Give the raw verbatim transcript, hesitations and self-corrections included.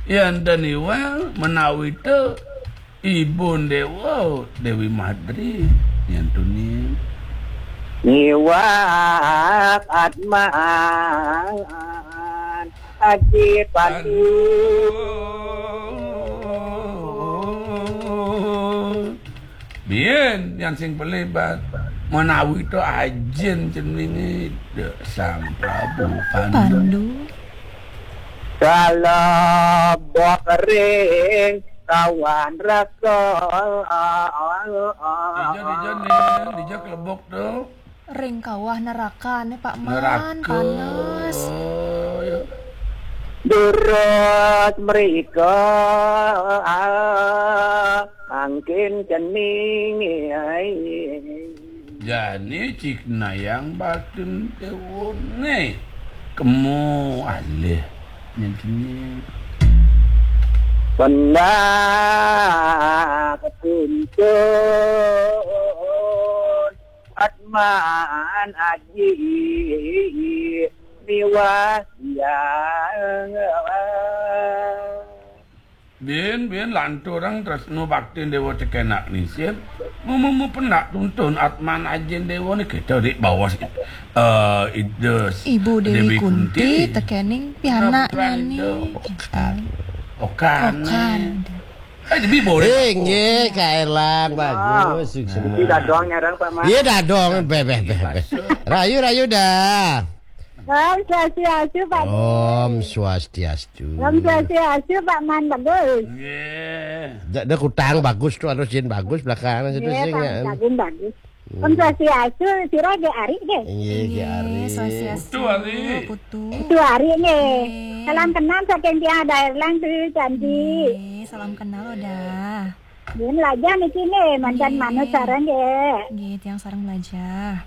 Yén ten Iwal menawi té Ibu Déwa, Déwi Madri, yén tuning. Ngiwak Atman Aji Pandu. Biyen yang sing pelebat menawi to ajin jenenge Sang Prabu Pandu. Pandu. Kalebok ring kawan raka. Dija, dija, Ning, dija kelebok to. Ring kawah neraka ne, Pak Man. Neraka. Panas. Oh, ya. Durus mrika angkin cening. Jani cik nayang batun tewone. Kemo alih nyen cening. Pendak tuntun Atman Aji miwah yang. Bin, bin, lanturang tresno baktin Dewa cekenak nisin. Mumumu pendak tuntun Atman Ajin Dewa ni kita dik bawas, eh, Ida Ibu Dewi Dewi Kunti, Kunti. Tekening pianak putra nyani. Ida Okan. Okan. Okan. Eh, lebih boleh. Eh, nggih, Kak Erlang, bagus, sukses. Iki dadong nyarang, Pak Mas. Iya, dadong, beh, beh, beh, beh. Rayu, rayu dah. Om Swastiastu, Pak. Om Swastiastu. Om Swastiastu, Pak Man, bagus. Nggih. Dak, dak kutang bagus tuh, harus jin bagus belakangan situ. Nggih, sing, Pak, ya. Agung bagus. Om Swastiastu, sira nggih Ari nggih? Inggih, nggih, Ari. Swastiastu, Putu Ari. Putu. Putu Ari nggih. Nggih. Salam kenal saking tiang Daerlang tu, Candi. Nggih, salam kenal, Oda. Nggih, lajah niki nggih, mantan Nggih. Manut sareng nggih. Nggih, tiang sareng lajah.